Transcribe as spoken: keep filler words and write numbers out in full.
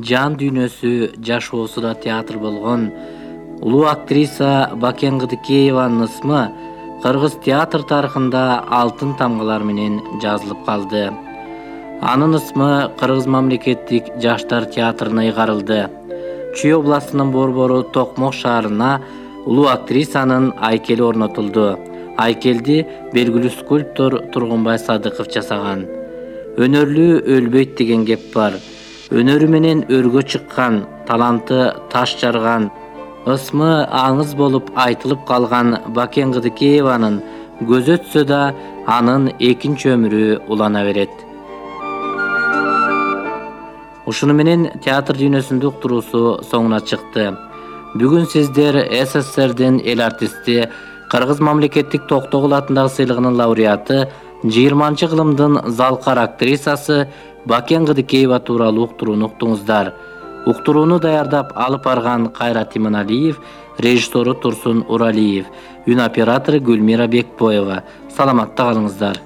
жан дүйнөсү жашоосу да театр болгон улуу актриса Бакен Кыдыкееванын ысмы кыргыз театр тарыхында алтын тамгалар менен жазылып калды. Анын ысмы Кыргыз мамлекеттик жаштар театрына ыйгарылды. Чүй областынын борбору Токмок шаарына улуу актрисанын айкели орнотулду. Айкелди белгилүү скульптор Тургунбай Садыков жасаган. Өнөрлүү өлбөйт деген кеп бар. Өнөрү менен өргө чыккан, таланты таш жарган, ысмы аңыз болуп айтылып калган Бакен Кыдыкееванын көз өтсө да анын экинчи өмүрү улана берет. Ушуну менен театр дүйнөсүндө уктуруусу соңуна чыкты. Бүгүн сиздер СССРдин эл артисти, Кыргыз мамлекеттик Токтогул атындагы сыйлыгынын лауреаты, жыйырманчы кылымдын залкар актрисасы Бакен Кыдыкеева тууралуу уктурууну уктуңуздар. Уктурууну даярдап алып барган Кайрат Иманалиев, режиссеру Турсун Уралиев, үн оператору Гүлмира Бекбоева. Саламатта калыңыздар.